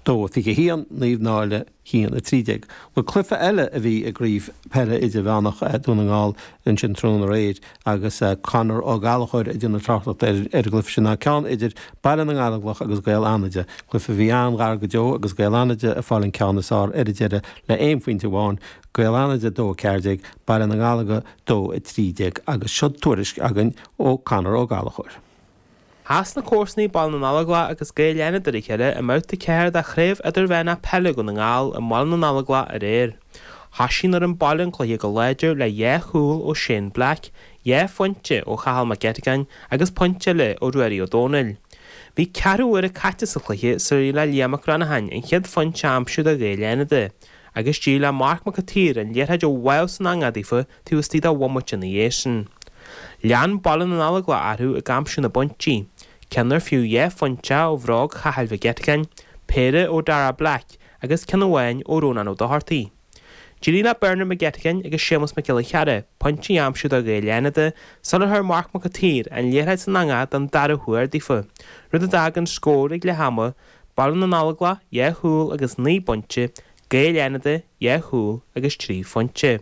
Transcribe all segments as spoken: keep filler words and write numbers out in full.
Dó a fiche a haon, Naomh Náille a haon a trí déag. Bhuel, cluiche eile a bhí i gCraobh Peile Idirmheánach Dhún na nGall ansin tráthnóna aréir agus Conor Ó Gallchóir ag déanamh tráchtaireachta ar an gcluiche sin ná ceann idir Baile na nGallóglach agus Gaeil Fhánada. Cluiche a bhí an-ghar go deo agus Gaeil Fhánada ag fáil an ceann is fearr ar an deireadh le aon phointe amháin, Gaeil Fhánada dó a ceathair déag, Baile na nGallóglach dó a trí déag agus seo tuairisc againn ó Conor Ó Gallchóir. Chas na comharsanaí Baile na nGallóglach agus Gaeil Fhánada ar a chéile i mbabhta ceathair de Chraobh Idirmheánach Peile Dhún na nGall i mBaile na nGallóglach aréir. Thoisigh an fhoireann baile an cluiche go láidir le dhá chúl ó Shane Black, dhá phointe ó Chathal Mac Eiteagáin agus pointe eile ó Ruairí Ó Dónaill. Bhí ceathrú uaire caite sa chluiche sular éirigh le Liam Mac Granatháin an chéad phointe a aimsiú do Ghaeil Fhánada. Agus d'éirigh le Marc Mac an tSaoir an liathróid a bháthadh san eangach daofa taobh istigh de bhomaite ina dhiaidh sin. Lean Baile na nGallóglach orthu ag aimsiú na bpointí, ceann ar fiú dhá phointe ó bhróg Chathail Mhic Eiteagáin, péire ó Dara Black agus ceann amháin ó Rónán Ó Dochartaigh. D'éirigh le Bernard Mac Eiteagáin agus Séamus Mac Giolla Chearra pointí a aimsiú do Ghaeil Fhánada sular chuir Marc Mac an tSaoir an liathróid san eangach don dara huair daofa, rud a d'fhág an scór ag leath ama, Baile na nGallóglach dhá chúl agus naoi bpointe, Gaeil Fhánada dhá chúl agus trí phointe.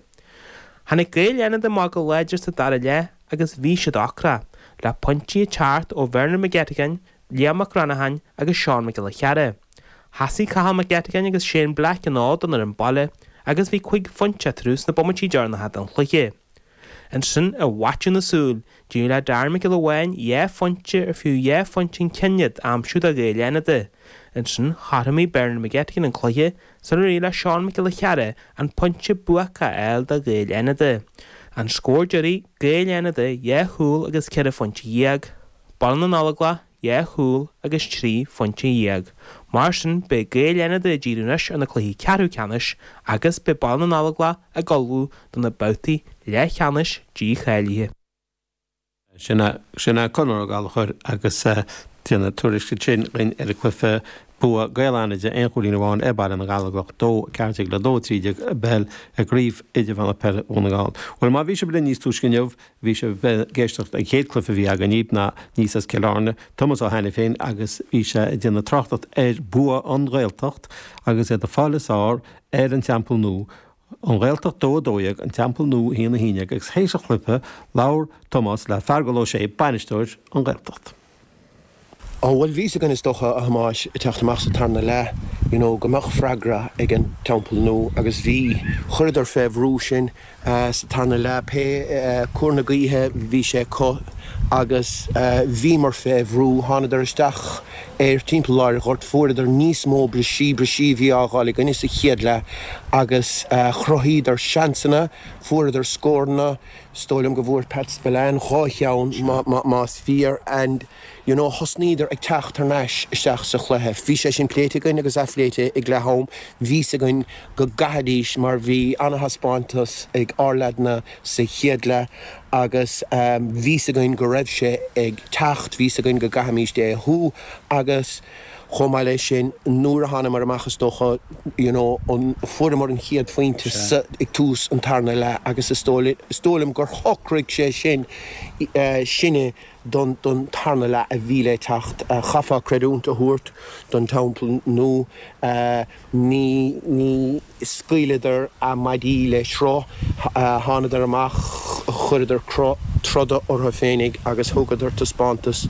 Tháinig Gaeil Fhánada amach go láidir sa dara leath agus bhí siad ocrach, le pointí ag teacht ó Bernard Mac Eiteagáin, Liam Mac Granatháin agus Seán Mac Giolla Chearra. Thosaigh Cathal Mac Eiteagáin agus Shane Black an fhód don fhoireann baile agus bhí cúig phointe eatarthu sna bomaití deireanacha den chluiche. Ansin, i bhfaiteadh na súl, d'éirigh le Darren Mac Giolla Bháin dhá phointe ar fiú dhá phointe an ceann iad a aimsiú do Ghaeil Fhánada. Ansin, chothromaigh Bernard McGettigan an cluiche sular éirigh le Seán Mac Giolla Chearra an pointe buacach a fháil do Ghaeil Fhánada. An scór deiridh, Gaeil Fhánada dhá chúl agus ceithre phointe dhéag, Baile na nGallóglach dhá chúl agus trí phointe dhéag. Mar sin, beidh Gaeil Fhánada ag díriú anois ar na cluichí ceathrú ceannais agus beidh Baile na nGallóglach ag ullmhú do na babhtaí leathcheannais dícháilithe. Sin é sin é Conor Ó Gallchóir agus déanamh tuairisc ansin ar an gcluiche bua Gaeil Fhánada aon chúilín amháin ar Baile na nGallóglach dó ceathair déag le dó trí déag i bpeil i gCraobh Idirmheánach Peile Dhún na nGall. Well má bhí sibh linn níos túisce inniu bhí sibh ag éisteacht an chéad cluiche a bhí againn ná níos as Cill Airne, Tomás Ó hAiniféin agus bhí sé ag déanamh tráchtaireacht ar bua an Ghaeltacht agus iad ag fáil is fearr ar an Teampall Nua. An Ghaeltacht dó a dó dhéag an Teampall Nua haon a haon déag agus théis an chluiche labhair Tomás le Feargal Ó Sé bainisteoir an Ghaeltacht. Ó bhuel bhí a fhios againn is dócha a Thomáis ag teacht amach sa tarna leath you know go mbeadh freagra ag an Teampall Nua agus bhí chuireadar fé bhrú sinn sa tarna leath pé cúr na gaoithe bhí sé acu agus bhíomar fé bhrú thánadar isteach ar timpeall lár an ghoirt fuaireadar níos mó brisí brisí bhí á fháil againne sa chéad leath agus chruthaíodar seansanna fuaireadar scóranna is dóigh liom go bhfuair Pat Spillane dhá cheann más fíor and you know thosnaíodar ag teacht thar n-ais isteach sa chluiche. Bhí sé sin pléite againn agus athphléite ag leath am, bhí a fhios againn go gcaithfidís mar bhí an-thaispeántas ag ár leaideanna sa chéad leath agus bhí a fhios againn go raibh sé ag teacht, bhí a fhios againn go gcaithfimís é a shú agus chomh maith leis sin nuair a thánamar amach is dócha you know an fuaireamar an chéad phointe sa ag tús an tarna leath agus is dóigh is dóigh liom gur shocraigh sé sin sinne don don tarna leath a bhí le teacht. Chaithfeá creidiúint a thabhairt don Teampall Nua ní ní scaoileadar a maidí le sruth, thánadar amach, chuireadar cruth troda orthu féinig agus thugadar taispeántas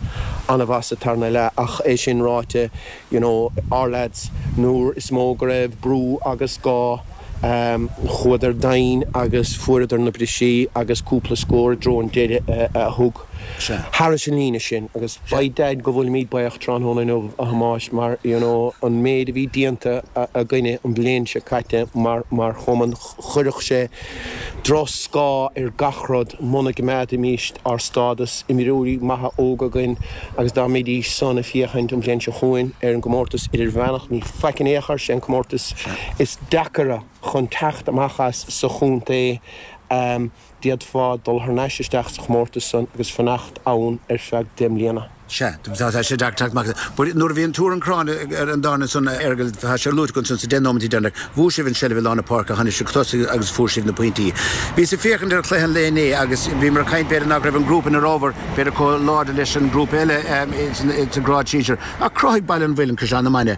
an-mhaith sa tarna leath ach é sin ráite you know our lads nuair is mó go raibh brú agus gá chuadar domhain agus fuaireadar na brisí agus cúpla scór i dtreo an deiridh a thug thairis an líne sin agus by dad go bhfuilimid buíoch tráthnóna inniu a Thomáis mar you know an méid a bhí déanta againne an bhliain seo caite mar mar chumann chuirfeadh sé drochscáth ar gach rud muna gcoimeádfaimís ár stádas imreoirí maithe óga againn agus dá mbeidís san ag féachaint an bhliain seo chugainn ar an gcomórtas idirmheánach ní faic in aon chor sé an comórtas is deacaire chun teacht amach as sa chontae um, d'fhéadfá dul thar n-ais isteach sa chomórtas san agus fanacht ann ar feadh deich mbliana. Sea, tá sé deacair teacht amach. But nuair a bhí an tuar an crann ar an darna san Fheargal tá sé luaite go san sa deich nóiméad deireanach, bhuaigh sibh an seilbh i lár na páirce, tháinig sibh tosaigh agus fuair sibh na pointí. Bhíos ag féachaint ar chluiche an lae inné agus bhí mar caint b'fhéidir nach raibh an grúpa ina rábhar b'fhéidir chomh láidir leis an grúpa eile sa grád sinsir. Ach chruthaigh Baile an Mhuilinn Caisleán na Mainge